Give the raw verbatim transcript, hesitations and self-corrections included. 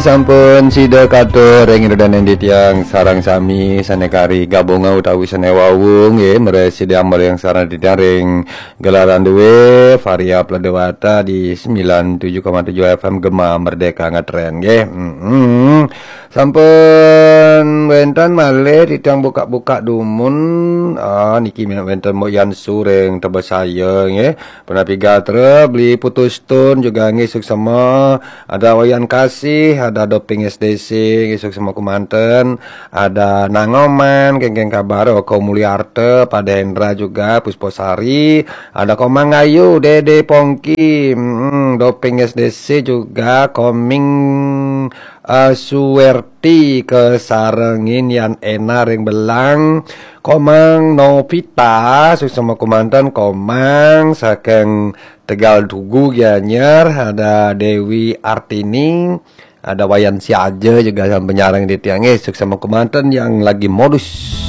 Sampun sida katur ring ida dané titiang sareng sami sané kari gabungan utawi sané wau nggih, mriki sida ambrih sareng titiang ring gelaran dué Varia Pladewata di sembilan tujuh koma tujuh F M Gema Merdeka ngetren nggih. Mm-mm. Sampun wénten malih titiang buka-buka dumun. Ah, niki wénten Mbok Yan Su ring Tebesaya nggih. Punapi gatra, Beli Putus Tun juga nggih suksma. Ada Wayan Kasih, ada Doping S D C, nggih suksma kumanten. Ada Nangoman, kéngkén kabar, Oko Mulyarta, Pak Hendra juga, Pusposari. Ada Komang Ayu, Dede Pongki, mm, Doping S D C juga, Koming eh, Suwerti kasarengin Yan Ena ring Belang, Komang Novita, suksma kumanten Komang saking Tegal Tugu Gianyar, ada Dewi Artini, ada Wayan Siaja juga sampun nyarengin titiang nggih, suksma kumanten yang lagi modus.